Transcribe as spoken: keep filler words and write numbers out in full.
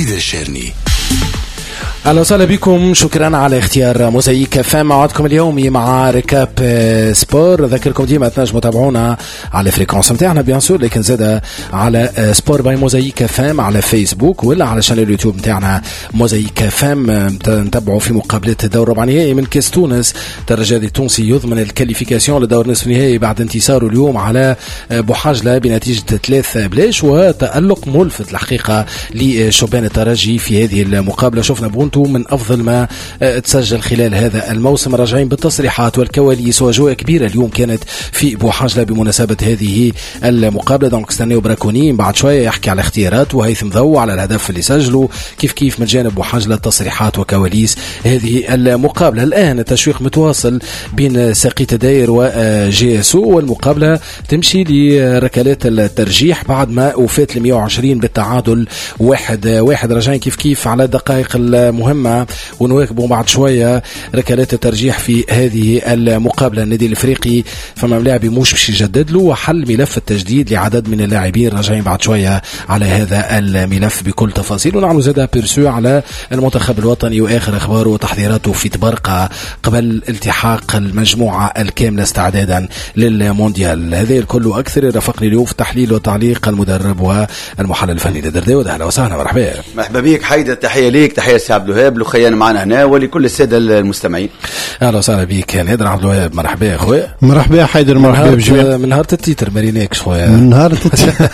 حيدر الشارني. اهلا وسهلا بكم، شكرا على اختيار موزايك اف ام. موعدكم اليومي مع récap sport. ذكركم ديما تنجموا تابعونا على fréquence نتاعنا bien sûr، لكن زاد على sport by موزايك اف ام على فيسبوك ولا على chaîne اليوتيوب نتاعنا موزايك اف ام. نتبعوا في مقابله الدور ربع نهائي من كاس تونس، الترجي التونسي يضمن ال qualification لدور نصف النهائي بعد انتصاره اليوم على بوحجله بنتيجة ثلاث بلاش، وتألق ملفت الحقيقة لشبان الترجي في هذه المقابله. شفنا بونتو من افضل ما آه، تسجل خلال هذا الموسم. راجعين بالتصريحات والكواليس واجواء كبيرة اليوم كانت في بوحجله بمناسبة هذه المقابله. donc استناو براكوني بعد شوية يحكي على اختيارات، وهيثم ضو على الهدف اللي سجله، كيف كيف من جانب بوحجله تصريحات وكواليس هذه المقابله. الان التشويق متواصل بين ساقية داير و JSO، والمقابلة تمشي لركلات الترجيح بعد ما وفات ال مية وعشرين بالتعادل واحد واحد. راجعين كيف كيف على الدقائق المهمة ونواكبوا بعد شوية ركلات الترجيح في هذه المقابله. النادي الافريقي فما لاعب مش باش يجدد له، وحل ملف التجديد لعدد من اللاعبين. راجعين بعد شوية على هذا الملف بكل تفاصيل، ونعمل زاد aperçu على المنتخب الوطني واخر اخباره وتحضيراته في طبرقه قبل التحاق المجموعة الكاملة استعدادا للمونديال. هذا الكل واكثر رافقني اليوم في التحليل والتعليق المدرب والمحلل الفني نادر داود. اهلا وسهلا، مرحبا. مرحبا بك حيدر، تحية ليك، تحية لسي عبد الوهاب لخيان معنا هنا ولكل السادة المستمعين. اهلا وسهلا بك نادر عبد الوهاب، مرحبا يا خويا. مرحبا حيدر، مرحبا بجميع. من نهار ال titre ما ريناكش خويا. من نهار ال titre.